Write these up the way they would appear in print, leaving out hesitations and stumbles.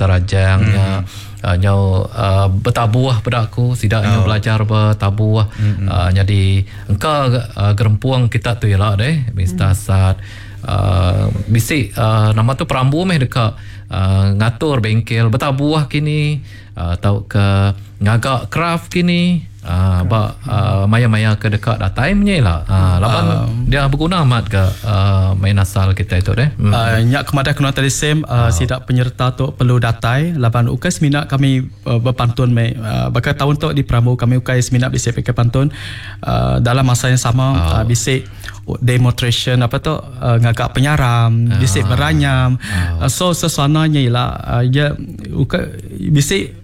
Rajang nya nyau betabuh peda aku sida nyau belajar betabuh nyadi engka gerempung kita tu ila deh Mister Asat bisi nama tu perambu meh deka ngatur bengkel betabuh kini tauka ngaga kraf kini ba maya-maya ke deka datai menya ila laban dia beguna amat ga main asal kitai tu deh. Nya ke madah kena tadi Sam sida penyerta tu perlu datai laban ukai semina kami bepantun meh baka taun tu diperambu kami ukai semina bisi pakai pantun dalam masa yang sama bisi demonstration apa tu ngaga penyaram bisi beranyam so suasana nya ila iya ukai bisi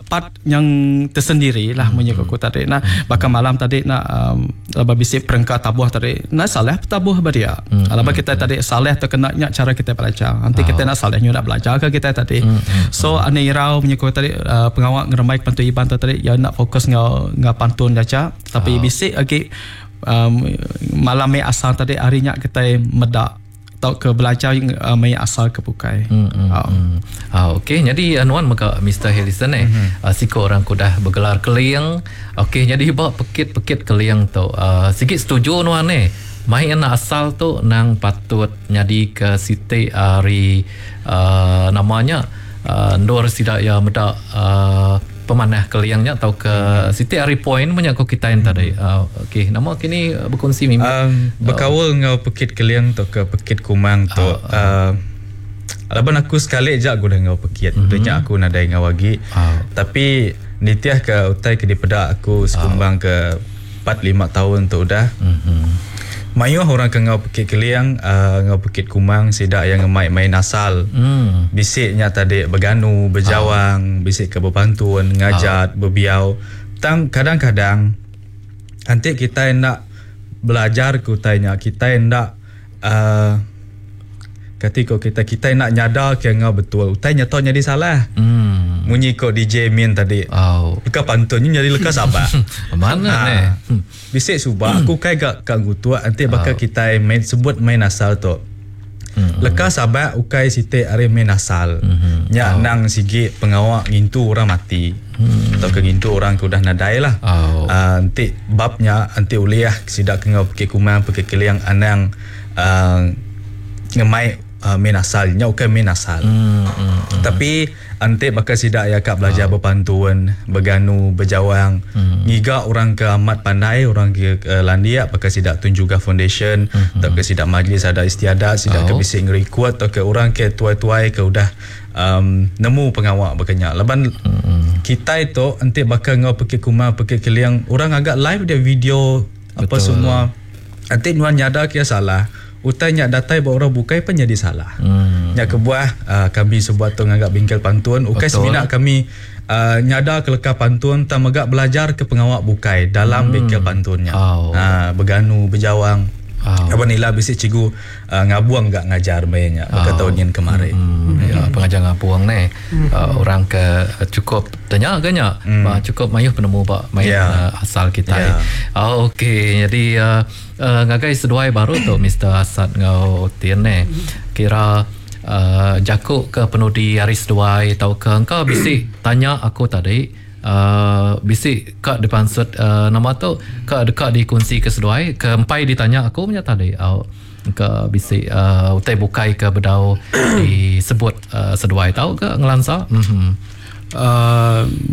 part yang tersendiri lah munyi ku aku tadi nah baka malam tadi nak laban bisi perengka tabuh tadi nah salah tabuh ba dia laban kita tadi salah tu kena nya cara kita belajar enti kita nak salah nyudah belajar ke kita tadi so ani irau munyi ku tadi pengawa ngerembai pantun Iban tu tadi iya nak fokus enggau enggau pantun aja tapi bisi agi malam meh asal tadi hari nya kitai meda tauka belajar maya asal ke bukai. Okey nyadi nuan mega Mister Harrison eh siku orang ke udah begelar keling. Okey nyadi ba pekit-pekit keling tu sigi setuju nuan eh main asal tu nang patut nyadi ke siti ari nama nya endur sida iya meda Pemanah keling nya tauka siti ari point menya ko kitai enta dei. Okey nama kini bekunsi mimit. Bekaul enggau pekit keling tauka pekit kumang tu laban aku sekali aja aku udah enggau pekit udah nya aku nadai enggau agi tapi nitih ka utai ke dipeda aku sekumbang ke 4 5 taun tu udah mayuh orang ke enggau pekit keling enggau pekit kumang sida iya ngemai main asal. Bisi nya tadi beganu, bejawang, bisi ke bepantun, ngajat, bebiau. Tang kadang-kadang enti kitai enda belajar ke utai nya kitai enda uhh Kati ko kitai, kitai enda nyada ke enggau betul. Utai nya tau nyadi salah. Munyi ko DJ Min tadi. Leka pantun nya nyadi leka sabak. Mana neh. Bisi suba aku ukai ga ka ngutuk enti baka kitai main sebut main asal tu. Leka sabak ukai siti ari main asal. Nya endang sigi pengawa ngintu orang mati tauka ngintu orang ke udah nadai lah. Enti bab nya enti ulih sida ke enggau pekit kumang pekit keling anang uhh ngemai main asal nya ukai main asal tapi enti baka sida iya ka belajar bepantun beganu bejawang ngiga orang ke amat pandai orang ke landik baka sida Tun Jugah Foundation tauka sida Majlis Adat Istiadat sida ke bisi ngerikod tauka orang ke tuai-tuai ke udah uhh nemu pengawa baka nya laban kitai tu enti baka enggau pekit kumang pekit keling orang ngaga live dia video apa semua. Enti nuan nyada ke iya salah, utai nya datai ba orang bukai pen nyadi salah. Nya kebuah kami sebuat tu ngaga bengkel pantun ukai semina kami nyada ke leka pantun tang mega belajar ke pengawa bukai dalam bengkel pantun nya. Beganu, bejawang. Laban ila bisi cikgu ngabung ga ngajar maya nya baka taun nyin kemari. Ya pengajar ngabung neh orang ke chukup tanya ga nya ba chukup mayuh penemu ba main asal kitai. Okey jadi ngagai seduai baru tu Mister Asat enggau Tin neh kira jaku ke penudi ari seduai tauka engka bisi tanya aku tadi. Bisi ka dipansut nama tu ka deka dikunsi ke seduai ke empai ditanya aku menya tadi au ke bisi utai bukai ke bedau disebut seduai tau ke ngelansa uhh.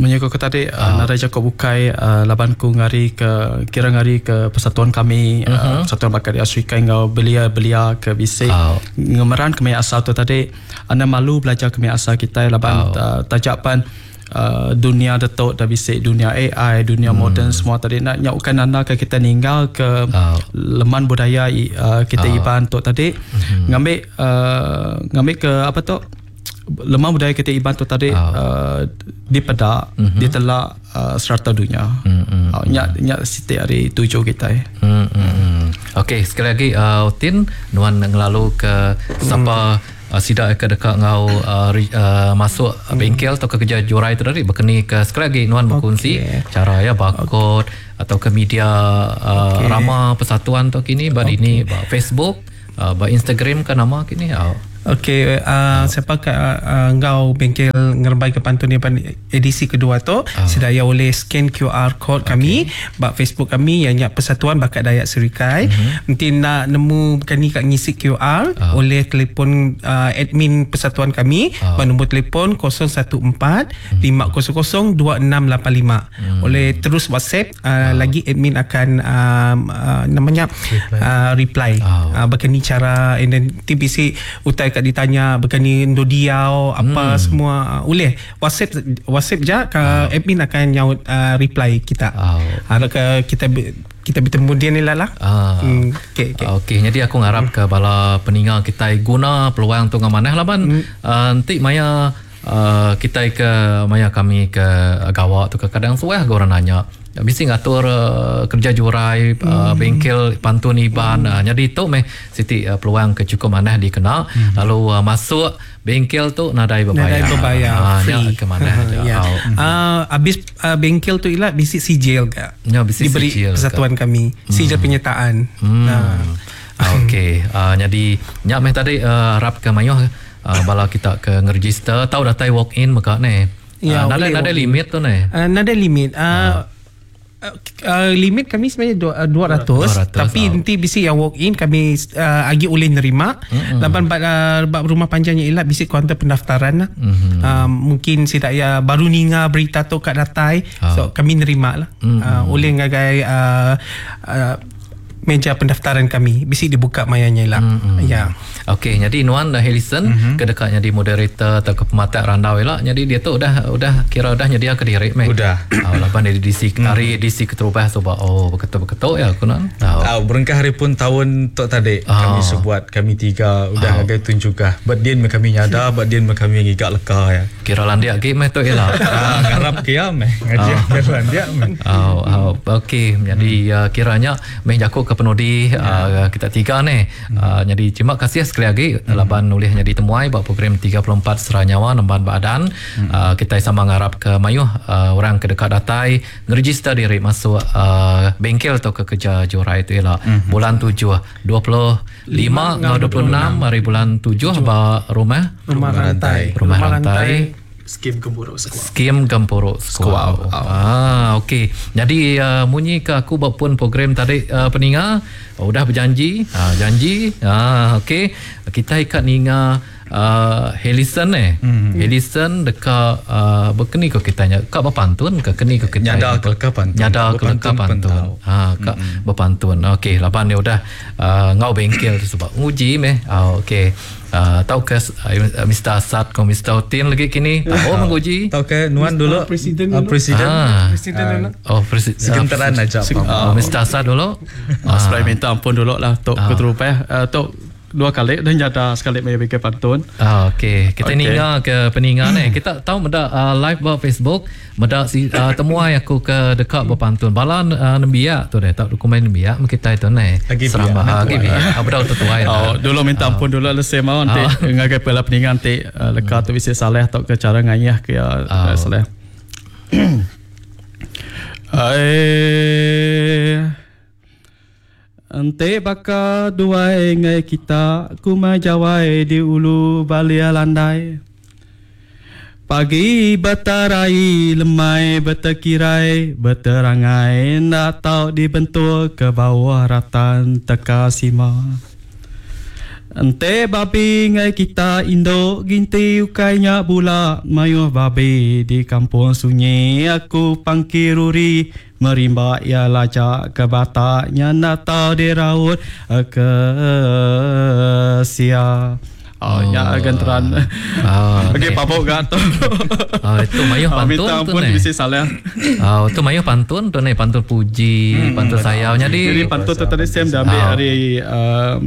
Munyi ku tadi nadai jaku bukai laban ku ngari ke kira ngari ke persatuan kami persatuan baka di Afrika enggau belia-belia ke bisi ngemeran ke maya asal tu tadi enda malu belajar ke maya asal kitai laban taja pan dunia ditu dah bisi dunia AI, dunia moden semua tadi enda nya ukai nanda ke kita ninggal ke leman budaya kita Iban tu tadi ngambi uhh ngambi ke apa tu leman budaya kita Iban tu tadi uhh dipeda ditela serata dunya. Nya nya siti ari tuju kitai. Okey sekali agi Tin nuan ngelalu ke sapa Sida ke deka enggau masuk bengkel tauka kereja jurai tu tadi baka ni ke sekali agi nuan bekunsi chara iya ba kod atauka media rama persatuan tu kini ba dini ba Facebook ba Instagram ka nama kini. Okey, siapa ke enggau bengkel ngerembai ke pantun Iban edisi kedua tu, sida iya ulih scan QR code kami ba Facebook kami iya nya Persatuan Bakat Dayak Serikai. Enti enda nemu kani ka ngisi QR, ulih telefon admin persatuan kami ba nombor telefon 014 500 2685. Ulih terus WhatsApp lagi admin akan nama nya reply baka ni cara and then ti bisi utai ka ditanya baka ni endur diau apa semua ulih WhatsApp WhatsApp ja ka admin akan nyaut reply kita. Arap ka kita kita betemu din ila lah. Okey okey. Okey nyadi aku ngarap ka bala peninga kitai guna peluang tu enggau manah laban enti maya Kitai ke maya kami ke gawa tu kekadang suah ga orang nanya bisi ngatur kereja jurai bengkel pantun Iban. Nyadi tu meh siti peluang ke chukup manah dikena lalu masuk bengkel tu nadai bebayar. Nadai bebayar, free. Nya ke manah aja. Abis bengkel tu ila bisi sijil ga. Nya bisi diberi sijil persatuan kami, sijil penyertaan. Okey, nyadi nya meh tadi arap ke mayuh Bala kita ke ngeregister tau datai walk in mega neh. Ya, nadai nadai limit tu neh. Nadai limit. Limit kami sebenarnya 200, tapi enti bisi yang walk in kami agi ulih nerima laban ba ba rumah panjai nya ila bisi kaunter pendaftaran lah. Mungkin sida iya baru ninga berita tu ka datai so kami nerima lah. Ulih ngagai meja pendaftaran kami bisi dibuka maya nya ila. Ya. Okey, nyadi nuan dah Helison mm-hmm. ke deka nyadi moderator atau ke pematak randau ila. Nyadi dia tu udah udah kira udah nyedia ke diri meh. Udah. Oh, laban dia DC mm. hari DC keterubah suba oh beketu-beketu ya aku nan. Oh. Oh, berengkah hari pun tahun tu tadi oh. kami sebuat kami tiga udah oh. ngagai tun juga. But din kami nyada, but din kami ngiga leka ya. Kira landik agi meh tu ila. Ah, ngarap ke iya meh. Ngaji oh. kira landik meh. Oh, oh, okey. Jadi uh, kiranya meh jaku ke penudi uh, kita tiga ni. Hmm. Uh, jadi terima kasih sekali lagi hmm. laban ulih nyadi temuai ba program 34 Sera Nyawa Nemban Badan. Hmm. Uh, kita sama ngarap ke mayuh uh, orang ke deka datai ngeregister diri masuk uh, bengkel atau ke kerja jurai tu ila. Hmm. Bulan 7 25 enggau 26 hari bulan 7 ba rumah Rumah Rantai. Rumah Rantai. Skim Gempuruk Sekuau. Skim Gempuruk Sekuau. Ah okey. Jadi uh, munyi ke aku ba pun program tadi uh, peninga oh, udah berjanji, uh, janji. Ah okey. Kita ikat ninga uh, Helison eh. Mm-hmm. Helison deka uh, bekeni ko kita nya ka bepantun ke keni ko kita. Nyada ke leka pantun. Nyada ke leka pantun. Ha ka mm-hmm. bepantun. Okey, laban dia udah uh, ngau bengkel tu sebab nguji meh. Oh, okey. Uh, tau ke uh, Mr. Asad ko Mr. Otin lagi kini. Tau menguji. Tau ke nuan dulu. Presiden dulu. Presiden. Ah. Presiden dulu. Oh, presiden. Segenteran aja. Oh, Mr. Asad dulu. Ah. Supaya minta ampun dulu lah tok ah. keterupah. Uh, tok dua kali dan nyata sekali mai bikin pantun. Ah, okey. Kita okay. ninga ke peninga ni. Kita tahu meda uh, live ba Facebook, meda si uh, temuai aku ke dekat berpantun. Bala uh, nembiak tu deh, tak dokumen nembiak kita itu ni. Seramba agi biak. Ah, bedau tetuai. Oh, dulu minta ampun dulu le sema nanti oh. ngagai pela peninga nanti uh, leka tu bisi salah atau ke cara ngayah ke uh, salah. Ai Enti baka duai enggai kita kumai jawai di ulu balia landai. Pagi betarai lemai betekirai beterangai enda tau dibentuk ke bauh ratan teka sima. Enti babi enggai kita indu ginti ukai nya bula mayuh babi di kampung sunyi aku pangki ruri Merimba iya laja ke batak nya enda tau diraut ke sia. Oh, nya genteran. Oh, Okey, pabuk ga tu. Oh, itu mayuh pantun Minta tu ampun ni. bisi salah. Oh, tu mayuh pantun tu ni, pantun puji, pantun sayau. Jadi Jadi pantun tu tadi Sam dah ambil Oh. ari um,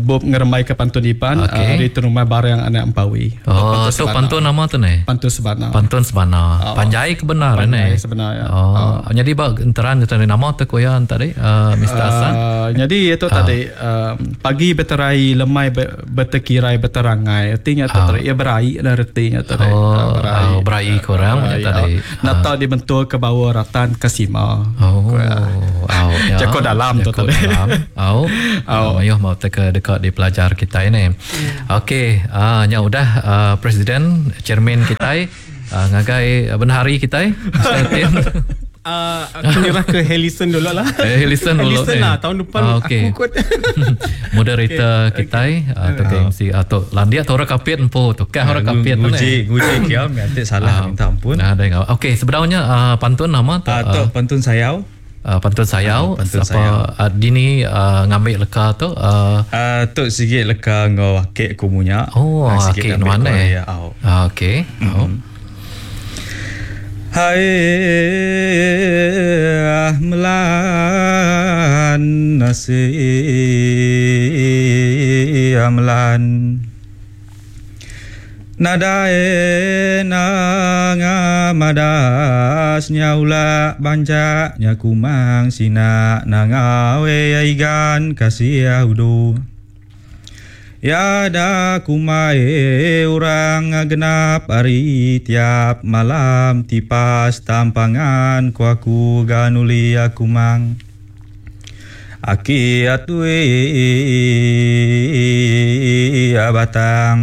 bup ngerembai ke pantun Iban Okey. ari Terumai Barang Anak Empawi. Oh, tu pantun nama tu ni. Pantun Sebana. Pantun Sebana. Oh. Panjai ke benar Panjai ni. sebenar, ya. Oh. Jadi ba enteran tu nama tu ko ya tadi uh, Mr. Hassan. Jadi itu tadi pagi beterai lemai betekirai beterangai. Artinya tu tadi ya berai lah artinya tadi. Oh, berai, oh, berai korang Berai, tadi. Nata dibentuk ke bawah ratan ke sima. Oh, oh, ya. Jago dalam tu Jago tadi. dalam. Oh. Oh. Mayuh mau utai ke deka dipelajar kitai ne. Okey, uh, nya udah uh, presiden, chairman kitai uh, ngagai bendahari kitai. Uh, aku nyerah ke Helison dulu lah. Eh, Helison dulu. Helison lah, tahun depan Ah, okey. aku kot. Moderator okay. kitai atau ke MC atau landia tu orang kapit empu tu. Kah orang kapit tu Nguji, nguji kia, nanti salah minta ampun. Nah, ada ngau. Okey, sebenarnya pantun nama tu Ah, tu pantun sayau. pantun sayau Ah, pantun siapa sayau. dini ngambil leka tu Ah, tu sikit leka ngau akek ku munya. oh Ah, sikit akek ambil nuan ku eh. ya, au. Ah, okey. Oh. Hai melan nasi melan Nadae nanga madas nyaula banjak nya kumang sina nangawe aigan kasih udu Ya da kumai orang genap hari tiap malam tipas tampangan ku aku ganuli aku mang. Aki atui batang.